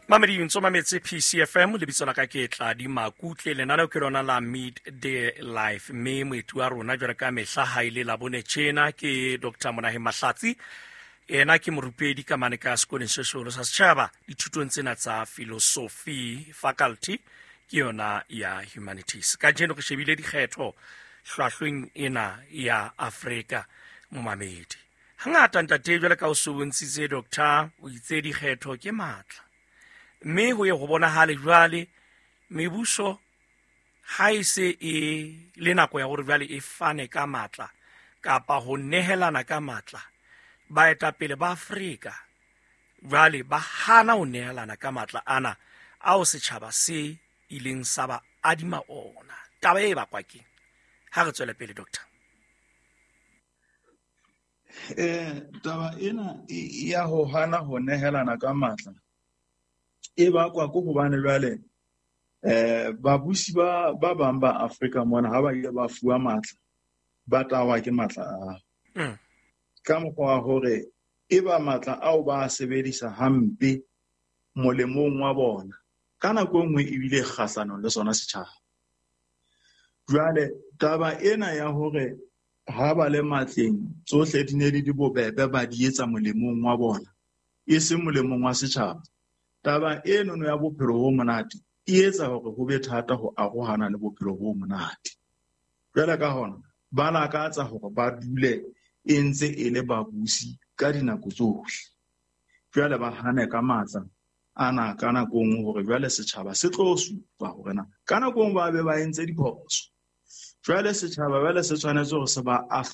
Mamedi ntso mametse PCFM. Lebitso la ka ke Tladi Makutle. Lenaneo ke lona la Midday Life, mme moeti wa rona jwale ka mehla ha ile la bone tjena ke Dr Monaheng Mahlatsi. Ena ke morupedi ka mane ka sekolong se seholo sa setjhaba dithutong tsena tsa philosophy, faculty ke yona ya humanities. Kajeno re shebile dikgetho hlwahlweng ena ya Afrika. Momamedi, hangata ntate, jwale ka o se bontshitse, doctor o itse dikgetho ke matla, mme ho ye ho bonahale jwale mebuso ha e se e le nako ya hore jwale e fane ka matla kapa ho nehelana ka matla, baetapele ba Afrika jwale ba hana ho nehelana ka matla ana ao setjhaba se ileng sa ba adima ona. Taba e bakwa keng? Ha re tswele pele, doctor. Taba ena ya ho hana ho nehelana ka matla e bakwa ke hobane jwale babusi ba bang ba Afrika mona, ha ba ile ba fuwa matla, ba tawa ke matla ao. Ka mokgwa wa hore e ba matla ao ba a sebedisa hampe molemong wa bona, ka nako e nngwe ebile kgahlanong le sona setjhaba. Jwale taba ena ya hore ha ba le matleng tsohle di ne di di bobebe, ba di etsa molemong wa bona e seng molemong wa setjhaba, taba enono ya bophelo bo monate e etsa hore ho be thata ho arohana le bophelo bo monate. Jwale ka hona ba lakatsa hore ba dule e ntse e le babusi ka dinako tsohle. Jwale ba hane ka matla ana ka nako e nngwe hore jwale setjhaba se tlo supa hore na ka nako e nngwe ba be ba entse diphoso. Jwale setjhaba jwale se tshwanetse hore se ba ahlole.